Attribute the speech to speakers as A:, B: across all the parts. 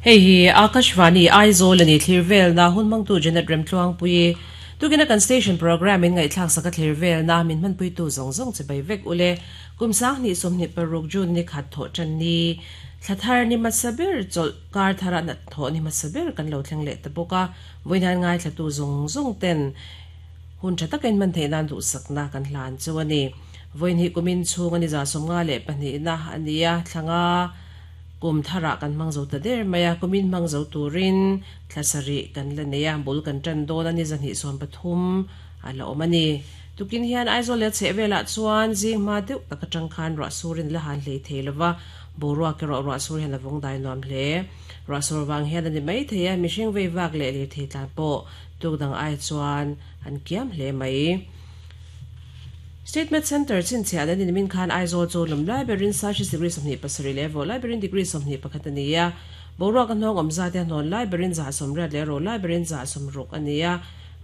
A: Hei hi Akashvani Aizawl a ni thlir velna hun hmangtu Janet Remtluangpuii tukina kan station programme in ngaihthlak sak a thlir velna min hmanpuitu zawng zawng che bai vek ule. Kum 2026 June ni khat thawh tan ni thla thar ni hmasa ber chawlh kar thara nat thawh ni hmasa ber kan lo thleng leh ta bawk a. Vawiin ngaithlatu zawng zawng ten hun tha takin hman theih nan duhsakna kan hlan chu a ni. Vawiin hi kumin chhung ani 52 na ania thlanga kum thara kan hmang zo ta der mai a kumin hmang zo turin thlasari kan la nei a bul kan tan dawn ani 230 a la awm ani. Tukin hian Aizawl leh chhehvelah chuan zing hma deuh taka tang khan ruah surin la han hlei thei lova boruak erawh ruah sur hian a vawng dai nuam hle. Ruah sur vang hian ani mai thei a mihring vei vak leh lir thei tlan pawh tuk dang ai chuan an kiam hle mai. Statement Center chin chhiah an in min khan Aizawl chu lum lai berin Celsius degree 27 leh vo lai berin degree 21 ania. Boruak a hnawng awm zat hian hnawn lai berin 180 leh ro lai berin 160 ania.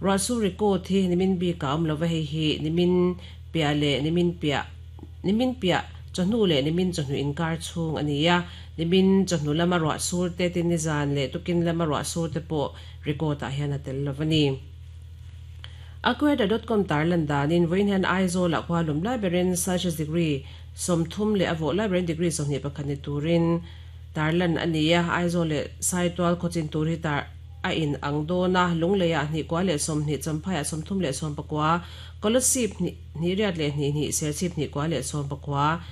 A: Ruah sur record hi nimin bi ka awm lova hei hi nimin piah leh nimin piah nimin piah chawhnu leh nimin chawhnu inkar chhung ania. Nimin chawhnu lama ruah sur te tin ni zan leh tukin lama ruah sur te pawh record ah hian a tel lovani. Aqueduct.com tarlan danin vawiin hian Aizawl ah khua lum lai berin Celsius degree 30 leh a vawh lai berin degree 21 ni turin tarlan ania. Aizawl leh Saitual khawchin tur hi tar a in ang dawna lungleia hnih kwa leh 20 champhai 30 leh 19 Kolasib hnih riat leh hnih hnih Serchhip hnih kwa leh 19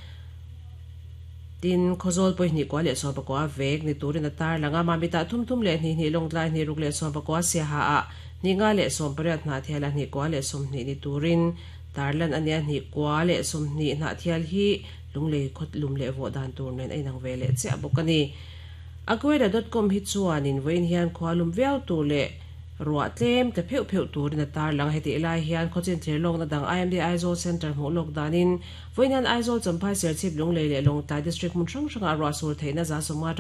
A: tin khawzawl pawih hnih kwa leh 19 vek ni turin a tar langa mamita thum thum leh hnih hnih lawngtlai hnih ruk leh 19 siaha a hnih nga leh 18 hna thial a hnih kwa leh 20 ni turin tarlan ania hnih kwa leh 20 hna thial hi lunglei khawt lum leh vaw dan tur nen a inang ve leh chiah bawk ani. Aqueduct.com hi chuanin vawiin hian khua lum viau tur leh ruah tlem te pheuh pheuh turin a tar lang heti lai hian khawchin thlir lawkna dang IMD Aizawl Center hmuh lawk danin vawiin hian Aizawl Champhai Serchhip Lunglei leh Lawngtlai District hmun hrang hrangah ruah sur theihna 50 atanga.